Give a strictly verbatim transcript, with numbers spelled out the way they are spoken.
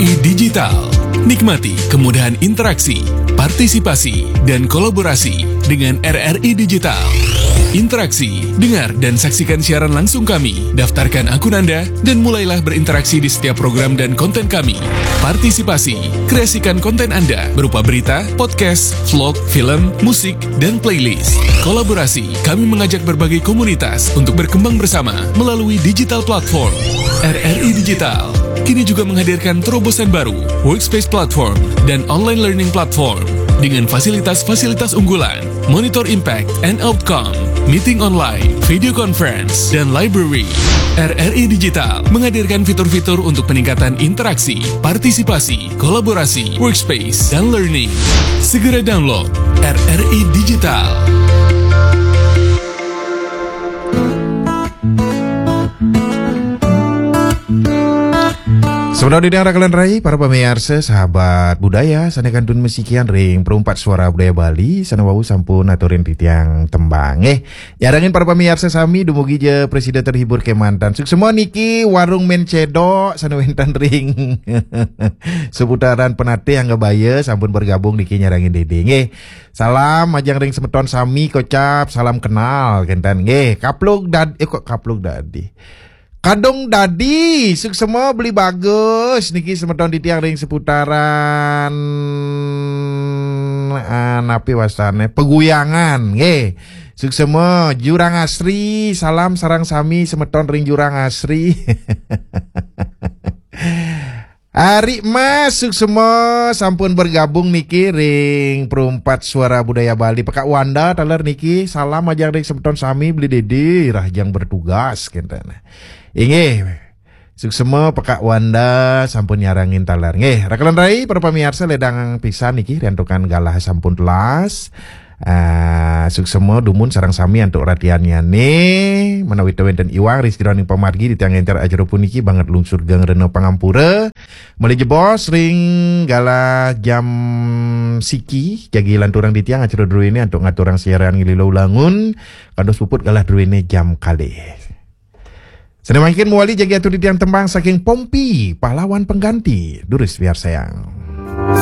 Digital. Nikmati kemudahan interaksi, partisipasi, dan kolaborasi dengan R R I Digital. Interaksi, dengar, dan saksikan siaran langsung kami. Daftarkan akun Anda dan mulailah berinteraksi di setiap program dan konten kami. Partisipasi, kreasikan konten Anda berupa berita, podcast, vlog, film, musik, dan playlist. Kolaborasi, kami mengajak berbagai komunitas untuk berkembang bersama melalui digital platform. R R I Digital kini juga menghadirkan terobosan baru, Workspace Platform dan Online Learning Platform, dengan fasilitas-fasilitas unggulan, Monitor Impact and Outcome, Meeting Online, Video Conference, dan Library. R R I Digital menghadirkan fitur-fitur untuk peningkatan interaksi, partisipasi, kolaborasi, workspace, dan learning. Segera download R R I Digital. Semeton didang rakan rai, para pamiarsa, sahabat budaya, sané kantun masikian ring Perumpat Suara Budaya Bali, sané wau sampun aturin titiang tembang. Eh, nyarengin para pamiarsa sami, dumugi ja prasida terhibur kémanten. Suksma niki Warung Mén Cedok, sané wénten ring seputaran Penatih, Angga Baya, sampun bergabung niki nyarengin Dédé. Nggih. Salam majeng ring semeton sami, kocap salam kenal kénten. Nggih, Kaplug Dad-, eh, kok Kaplug Dadi. Kadung Dadi, suksma Beli Bagus niki semeton titiang ring seputaran, ah, napi wastané, Peguyangan, nggih. Suksma Jurang Asri, salam sareng sami semeton ring Jurang Asri. Ari Mas, suksma sampun bergabung niki ring Perumpat Suara Budaya Bali. Pekak Wanda taler niki, salam majeng ring semeton sami, Beli Dédé, rahajeng bertugas, kénten. Inggih. Suksma Pekak Wanda sampun nyarengin taler. Nggih, rakan rai, para pamiarsa, ledang pisan niki, riantukan galah sampun telas. Ah, suksma dumun sareng sami antuk ratiannyané, menawi wénten iwang ring sajeroning pamargi titiang ngénter acara puniki, banget lungsur geng rena pangampura. Malih jebos ring galah jam siki, jagi lanturang titiang acara druéné antuk ngaturang siaran nglila ulangun, kantos puput galah druéné jam kalih. Sané mangkin mawali jagi atur titiang tembang saking Pompi, Pahlawan Pengganti, durus piarsayang.